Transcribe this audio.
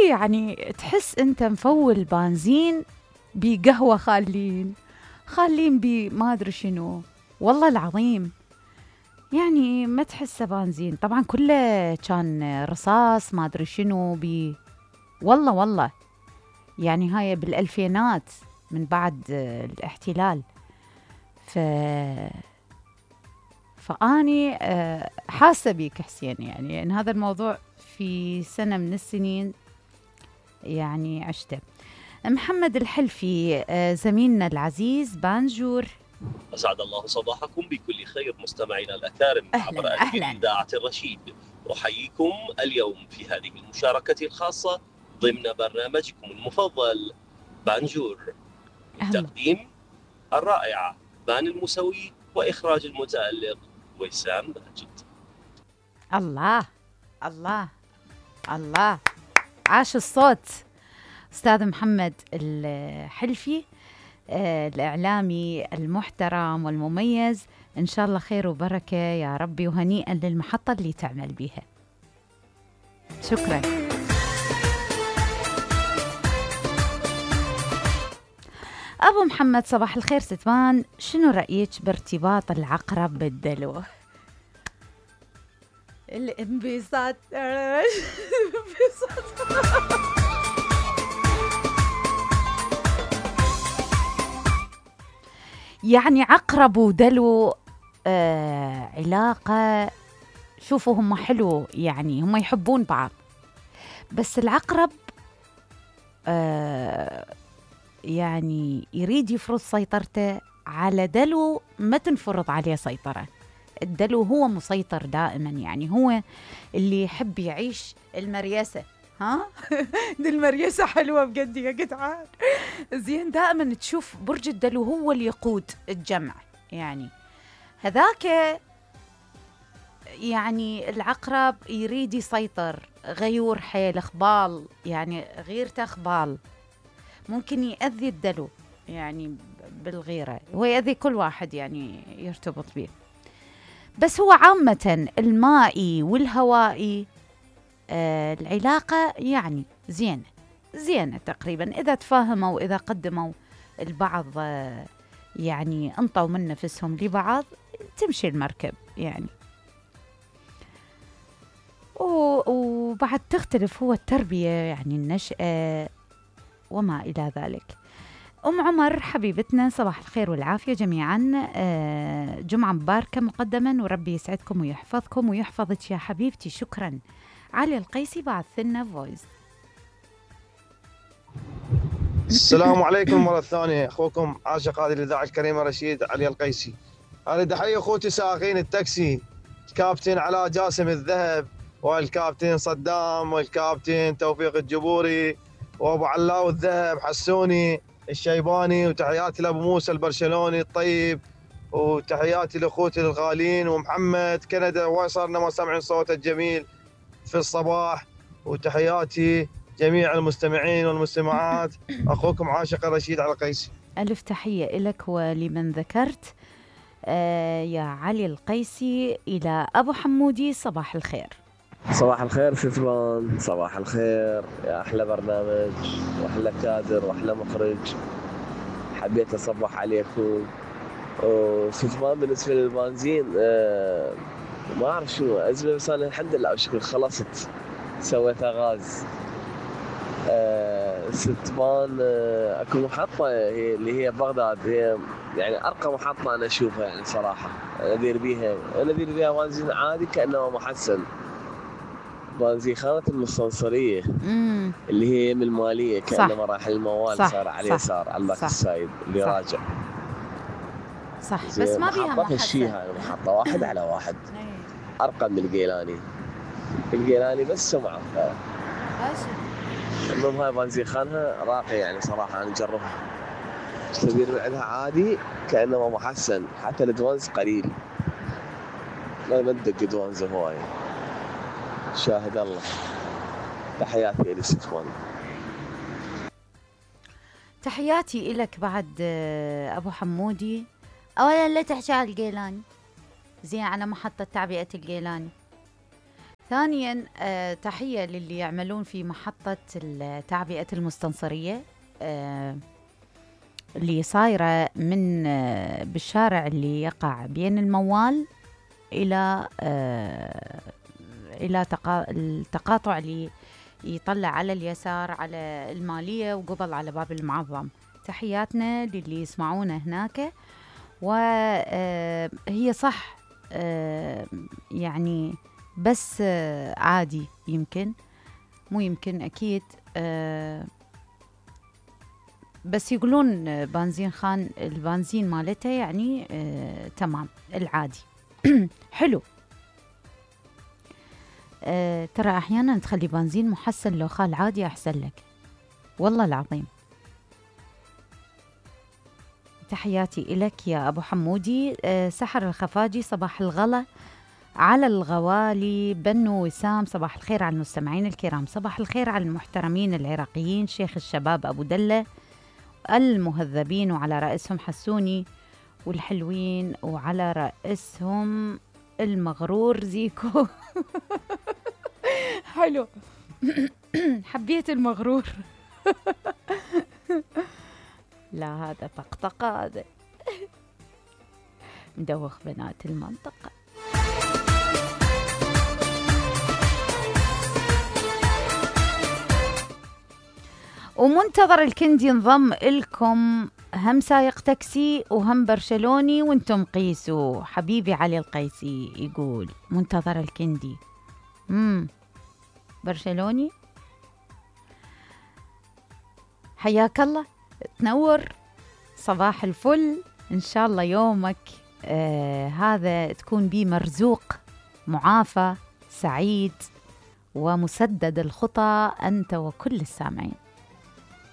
يعني تحس انت مفول بنزين بقهوة خالين بما ادري شنو. والله العظيم يعني ما تحسه بنزين، طبعا كله كان رصاص ما ادري شنو والله يعني هاي بالألفينات من بعد الاحتلال. فأني حاسة بيك حسين، يعني إن هذا الموضوع في سنة من السنين يعني عشته. محمد الحلفي زميلنا العزيز بانجور، أسعد الله صباحكم بكل خير مستمعينا الأكارم عبر إذاعة الرشيد. أحييكم اليوم في هذه المشاركة الخاصة ضمن برنامجكم المفضل بانجور، من تقديم الرائعة بان المسوي وإخراج المتألق وسام ماجد. الله الله الله، عاش الصوت أستاذ محمد الحلفي الإعلامي المحترم والمميز. إن شاء الله خير وبركة يا ربي، وهنيئا للمحطة اللي تعمل بيها. شكرا. أبو محمد صباح الخير ستمان، شنو رأيك بارتباط العقرب بالدلو؟ الانبساط يعني عقرب ودلو علاقة، شوفوا هم حلو يعني هم يحبون بعض، بس العقرب يعني يريد يفرض سيطرته على دلو، ما تنفرض عليه سيطرة. الدلو هو مسيطر دائما، يعني هو اللي يحب يعيش المريسة. ها دي المريسة حلوة بجد يا جدعان. زين دائما تشوف برج الدلو هو اللي يقود الجمع، يعني هذاك يعني العقرب يريد يسيطر، غيور حيل خبال، يعني غيرته خبال، ممكن يأذي الدلو يعني بالغيرة، هو يأذي كل واحد يعني يرتبط به. بس هو عامة المائي والهوائي العلاقة يعني زينة تقريبا، إذا تفاهموا وإذا قدموا البعض يعني انطوا من نفسهم لبعض تمشي المركب يعني. وبعد تختلف هو التربية يعني النشأة وما إلى ذلك. أم عمر حبيبتنا صباح الخير والعافية جميعا، جمعة مباركة مقدما، وربي يسعدكم ويحفظكم ويحفظك يا حبيبتي. شكرا. علي القيسي بعث لنا فويس. السلام عليكم مرة ثانية، أخوكم عاشق هذه الإذاعة الكريمة رشيد علي القيسي. أريد أحيي أخوتي سائقين التاكسي، الكابتن علاء جاسم الذهب، والكابتن صدام، والكابتن توفيق الجبوري، وأبو علاو الذهب حسوني الشيباني، وتحياتي لأبو موسى البرشلوني الطيب، وتحياتي لأخوتي الغالين، ومحمد كندا وصلنا ما سمعن صوته الجميل في الصباح، وتحياتي جميع المستمعين والمستمعات. أخوكم عاشق رشيد على القيسي. ألف تحية لك ولمن ذكرت يا علي القيسي. إلى أبو حمودي صباح الخير. صباح الخير ستمان، صباح الخير يا أحلى برنامج وأحلى كادر وأحلى مخرج. حبيت أصبح عليكم. وستمان بالنسبة للبنزين ما أعرف شو أزمة، بس أنا الحمد لله بشكل خلصت سويتها غاز. ستمان أكو محطة هي اللي هي بغداد، هي يعني أرقى محطة أنا أشوفها يعني صراحة. أنا أدير بيها بنزين عادي كأنه محسن، بنزين خانة المستنصرية اللي هي من المالية، كأنما راح الموال صار على اليسار على الباك السايد اللي صح راجع صح. بس ما بيها محطة هالشيء، محطة واحد على واحد أرقى من الجيلاني بس سمعة. المهم هاي بنزين خانها راقي يعني صراحة، أنا نجربها تدير بعدها عادي كأنما محسن، حتى الدوانز قليل، ما ندق دوانز هواي. شاهد الله. تحياتي إلي ستوان. تحياتي إلك بعد أبو حمودي. أولا لا تحكي على الجيلاني، زين على محطة تعبئة الجيلاني، ثانيا تحية للي يعملون في محطة التعبئة المستنصرية اللي صايرة من بالشارع اللي يقع بين الموال إلى التقاطع اللي يطلع على اليسار على المالية وقبل على باب المعظم. تحياتنا للي يسمعونا هناك. وهي صح يعني بس عادي، يمكن مو يمكن أكيد، بس يقولون بنزين خان البنزين مالته يعني تمام العادي. حلو. ترى أحيانا تخلي بنزين محسن لو خال عادي أحسن لك والله العظيم. تحياتي إلك يا أبو حمودي. سحر الخفاجي صباح الغلا على الغوالي. بنو وسام صباح الخير على المستمعين الكرام. صباح الخير على المحترمين العراقيين شيخ الشباب أبو دلة المهذبين وعلى رأسهم حسوني والحلوين وعلى رأسهم المغرور زيكو. حلو. حبيت المغرور. لا هذا طقطقة، هذا مدوخ بنات المنطقة. ومنتظر الكندي انضم لكم، هم سايق تاكسي وهم برشلوني وانتم قيسوا. حبيبي علي القيسي يقول منتظر الكندي. برشلوني. حياك الله، تنور، صباح الفل. إن شاء الله يومك هذا تكون بيه مرزوق معافى سعيد ومسدد الخطى أنت وكل السامعين.